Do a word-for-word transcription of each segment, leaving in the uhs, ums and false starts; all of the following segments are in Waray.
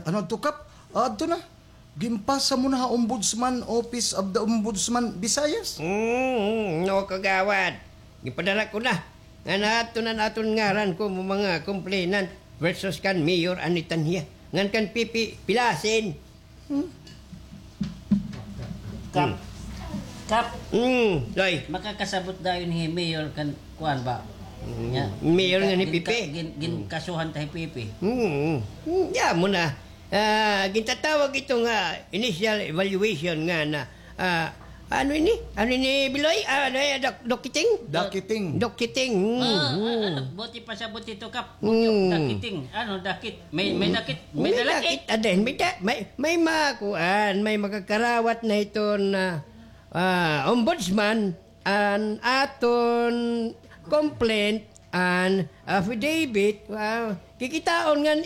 Ano adto, Kap? Ah, adto na. Ginpasa mo na ha Ombudsman, Office of the Ombudsman, Visayas? Mm, no, Kagawad. Ginpadara ko na. Ngan adto na an aton ngaran kon mga complainant versus kan Mayor Annie Tanhia. Ngan kan Pipi Pilasin. Hmm? Kap. Hmm. Kap. Hmm, Loy. Makakasabot dayon hi Mayor kan kuan ba? Hmm. Nya, Mayor nga ni ginka-, Pipi. Gin-, gin-, hmm, ginkasuhan ta hi Pipi. Hmm. Hmm, ya mo na. Ah, gintatawag ito nga initial evaluation nga na, ah, ano ini? Ano ini, Biloy? Ah, ano, eh, Doc-, Doc Kiting? Doc Kiting. Doc Kiting. Hmm, ah, hmm. Ah, ano, buti pa sa buti to, Kap. Hmm. Dakiting. Ano, dakit? May, may dakit? May dalakit? May dakit, aden. May da-, may, may makuan, may makakarawat na iton, ah, ombudsman, an aton complaint, an affidavit, ah, kikitaon ngan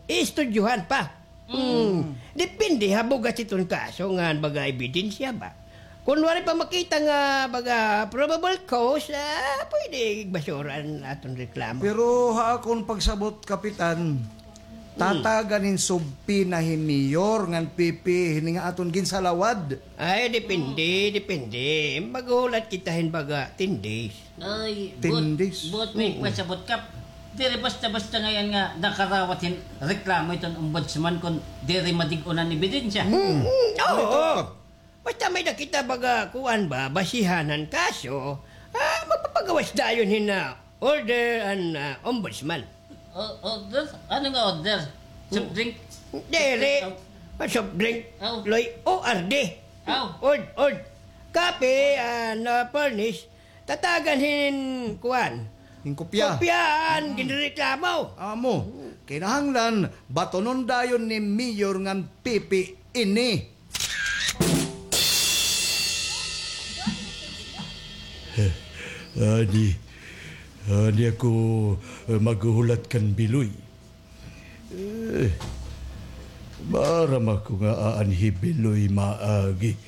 iistudyohan pa. Mm. Hmm. Depende ha bugas iton kaso ngan baga ebidensya ba. Kon waray pa makita nga baga probable cause, ah, pwede basura an aton reklamo. Pero ha akon pagsabot, Kapitan, hmm, tatagan hin subpoena hi Mayor ngan Pipi hini nga aton ginsalawad. Ay, depende, depende. Maghulat kita hin baga ten days. Ay, ten days? Buot, buot may pasabot, Kap. Diri basta-basta ngay-an nga nakarawat hin reklamo iton ombudsman kon diri madig-on an ebidensya. Mm, mm, oo. Basta may-ada kita baga kuan ba, basihan han kaso, ah, magpapagawas dayon hin, ah, order an, ah, ombudsman. O-, order? Ano nga order? Soft drink? Diri. Aw. Ah, soft drink. Aw. Loy, O R D. Aw. Ord, ord. Kape, ah, na furnish. Tatagan hin kuan. Hin kopya. Kopya an ginreklamo. Amo. Kinahanglan, batonon dayon ni Mayor ngan Pipi ini. Adi, adi ako, eh, maghuhulat kan Biloy. Eh, maaram ako nga aan hi Biloy maagi.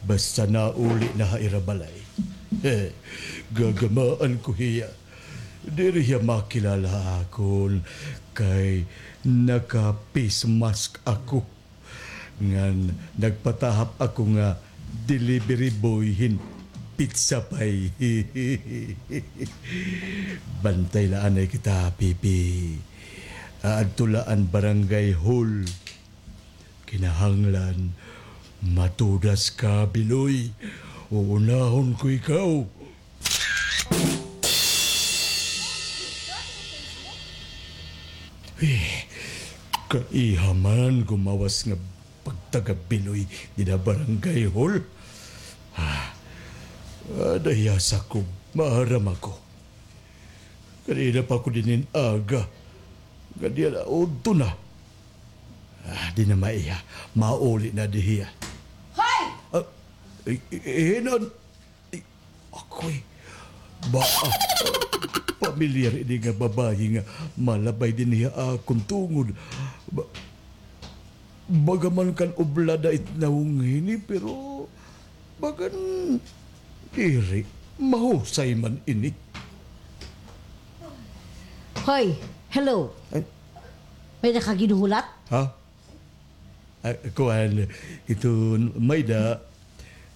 Basta nauli na ha ira balay. Eh, gagamaan ko hiya. Diri hiya makilala ha akon kay naka-face mask ako. Ngan nagpatahap ako nga delivery boy hin pizza pie. Bantay la anay kita, Pipi. Aadto la an barangay hall. Kinahanglan matudas ka, Biloy. Uunahon ko ikaw. Eh, kaiha man gumawas nga pagtaga-Biloy dinha barangay hall. Ah, ah, nahiya sa ko, maaram ako. Kanina pa ako dinhi hin aga. Nga diya na, udto na. Ah, di na maiha. Mauli na dihiya. Hoy! Ah, eh, eh, eh, nan-, Ay, akoy, ba, ah, pamilyar ini nga babayi nga malabay dinhi ha akon tungod. Ba, baga man kan oblada it nawong hini, pero bagan diri, mahusay man ini. Hoy, hello. Ay. May-ada ka ginhuhulat? Ha? Ah, kuan, iton may-ada,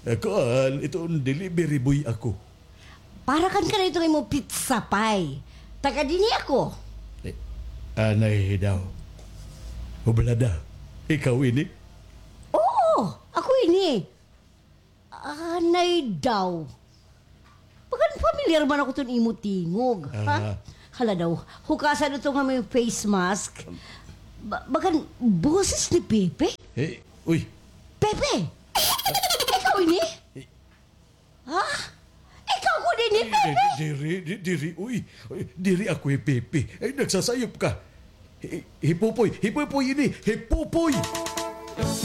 ah, kuan, iton delivery boy ako. Para kan kanay iton imo pizza pie. Taga dinhi ako. Eh, anay daw. Oblada, ikaw ini? Oo, ako ini. Anay daw. Bagan pamilyar man ako iton imo tingog, ha? Aha. Hala daw, hukasan ito nga may face mask. Ba-, bagan boses ni Pepe? Eh, uy. Pepe! Ikaw ini? Eh. Ha? Ikaw gud ini, Pepe? Eh, di-, diri, di-, diri, uy. Uy, diri ako hi Pepe. Ay, nagsasayop ka. Hi-, hi Popoy, hi Popoy ini, hi Popoy!